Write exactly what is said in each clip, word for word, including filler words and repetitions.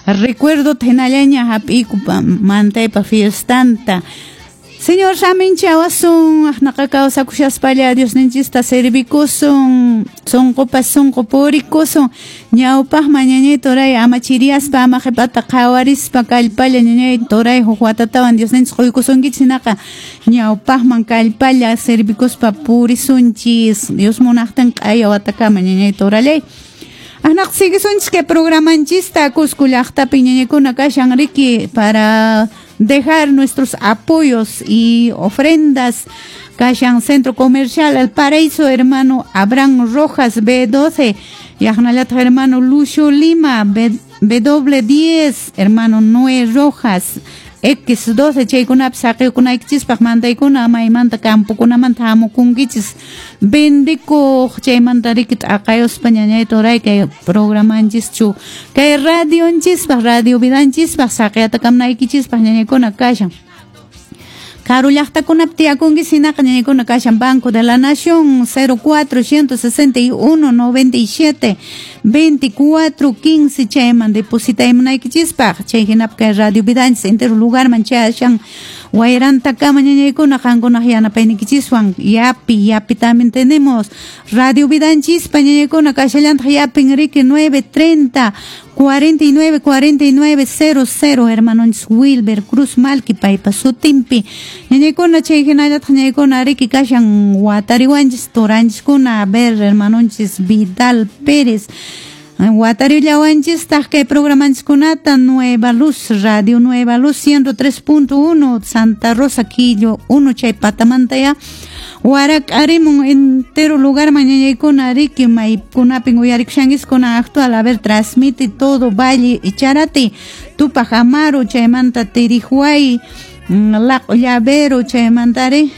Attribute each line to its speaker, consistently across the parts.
Speaker 1: Recuerdo hinallaña hap'iyku mantaypa fiestanta. Señor saminchawasun, aqnaqa kawsakushaspalla Diosninchista servikusun, sunqupas sunqu purikusun, ñawpaqman ñañay turay ama chiriyaspa ama qhipata qhawarispa kallpalla ñañay turay huk watatawan Diosninchis quykusunkichis hinaqa ñawpaqman kallpalla servikuspa purisunchis Dios munaqtin q'aya watakama ñañay turallay. Aqnaqa siguisunchis kay programanchista Cusco llaqtapi ñañaykuna kashan riki para dejar nuestros apoyos y ofrendas. Kashan Centro Comercial El Paraíso, hermano Abraham Rojas, B doce, Yajnalat hermano Lucio Lima, B, W diez, hermano Noé Rojas, X doce, chaykunapi saqiykunaykichispaq mandaykuna maymanta campokunamanta hamukunkichis vendikuq chaymanta riki t'aqayuspa ñañay turay kay programanchischu kay radionchispaq radio vidanchispaq saqiyatakamnaykichispaq ñañaykuna kashan. Karu llaqtakunapi tiyakunki hinaqa ñañaykuna kashan Banco de la Nación cero cuatro ciento sesenta y uno noventa y siete veinticuatro quince chayman depositaymunaykichispaq chay hinapi kay radio vidanchis entero lugarman chayashan wayrantakama ñañaykuna qankunaq yanapayniykichiswan. Yapi yapi también tenemos radio vidanchispa ñañaykuna kashallantaq yapin riki nueve treinta cuarenta y nueve cuarenta y nueve cero cero hermanonchis Wilber Cruz Malki paypa sutinpi ñañaykuna chay hinallataq ñañaykuna riki kashan watariwanchis turanchiskuna. A ver, hermanonchis Vidal Pérez watarillawanchistaq kay programanchiskunata Nueva Luz, Radio Nueva Luz ciento tres punto uno Santa Rosa Quillo uno chay patamanta ya warak'arimun entero lugar ñañaykuna riki maykunapin uyarikushankiskuna actual. A ver, transmite todo Valle Echarati, Tupac Amaru chaymanta Tirihuay, Laq'o Llavero chaymantari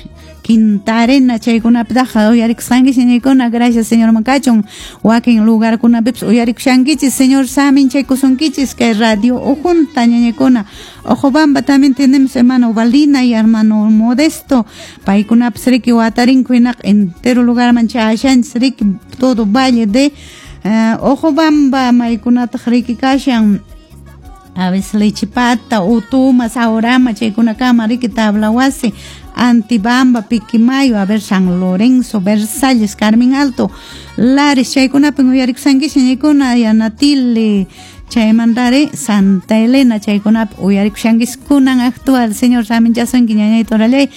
Speaker 1: Quinta Arena chaykunapitaqa uyarikusqankichis ñañaykuna. Gracias Señor makachun wakin lugarkunapipas uyarikushankichis. Señor saminchaykusunkichis kay radio ujunta ñañaykuna. Ojobamba también tenemos hermano Valina y hermano Modesto, paykunapas riki watarinku hinaqa entero lugarman chayashanchis riki todo valle de uh, Ojobamba maykunataq riki kashan a veces Lechipata, Utuma, Saurama, chaykunakama riki Tablawasi, Antibamba, Piquimayo, a ver, San Lorenzo, Versalles, Carmen Alto, Lares, chaykunapin uyarikushankichis ñañaykuna, Yanatile, chaymantari Santa Elena, chaykunapi uyarikushankichis kunan actual. Señor saminchasunki ñañay turallay.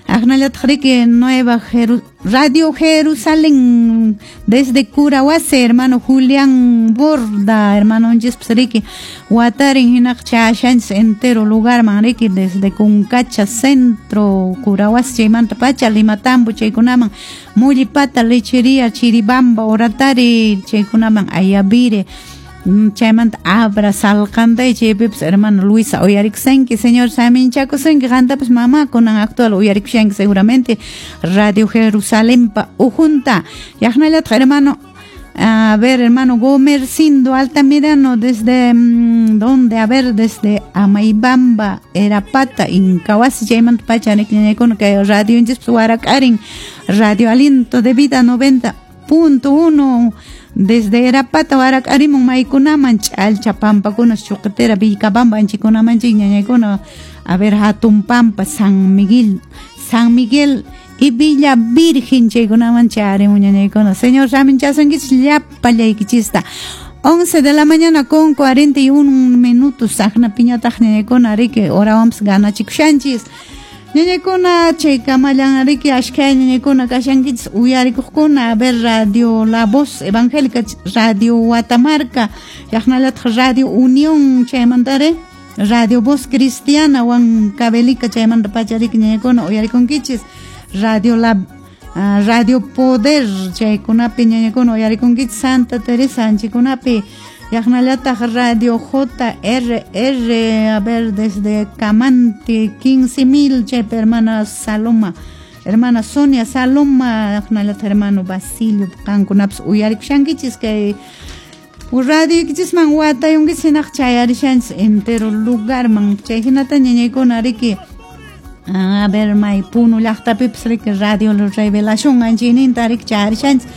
Speaker 1: Aqnallataq riki Nueva Jeru Radio Jerusalén desde Curahuasi, hermano Julián Borda, hermano riki watarin hinaq chayashanchis entero lugarman riki desde Cuncacha Centro, Curahuasi chaymanta pacha Limatambo chaykunaman Mullipata, Lechería, Chiribamba, Oratari chaykunaman Ayavire chaymanta Abra, Salcantay chaypipas hermano Luisa uyarikushanki. Señor saminchakusunki qantapas mama kunan actual uyarikushanki seguramente Radio Jerusalempa ujunta. Yaqnallataq hermano, a ver, hermano Gomercindo Altamirano, desde mmm, ¿dónde? A ver, desde Amaibamba, Erapata, Incahuasi, chaymanta pacha ñañaykuna kay radio warak'arin Radio Aliento de Vida noventa punto uno desde Erapata warak'arimun maykunaman Ch'alcha pampakuna Chuqitera Vilcabamba anchikunaman chay ñañaykuna. A ver, Hatun Pampa, San Miguel, San Miguel y Villa Virgen chaykunaman chayarimun ñañaykuna. Señor saminchasunkichis llapallaykichista. once de la mañana con cuarenta y un minutos aqnapiñataq ñañaykuna riki horawanpas ganachikushanchis ñañaykuna chay kamallan riki ashkhay ñañaykuna kashankichis uyarikuqkuna. A ver, Radio La Voz Evangélica, Radio Watamarca, yaqnallataq Radio Unión chaymantari Radio Voz Cristiana Huancavelica chaymanta pacha riki ñañaykuna uyarikunkichis Radio La uh, Radio Poder chaykunapi ñañaykuna uyarikunkichis Santa Teresa anchikunapi yaqnallataq Radio J R R, a ver, desde Camante quince mil chaypi hermana Saloma, hermana Sonia Saloma, yaqnallataq hermano Basilio qankunapas uyarikushankichis kay radioykichisman watayunkichis hinaq chayarishanchis entero lugarman chay hinata ñañaykuna riki. A ver, may Puno llaqtapipas riki Radio Revelación anchayninta riki chayarishanchis.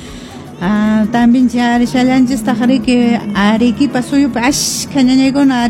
Speaker 1: Ah, también chayarishallanchistaq riki Arequipa suyupi ashkha ñañaykuna.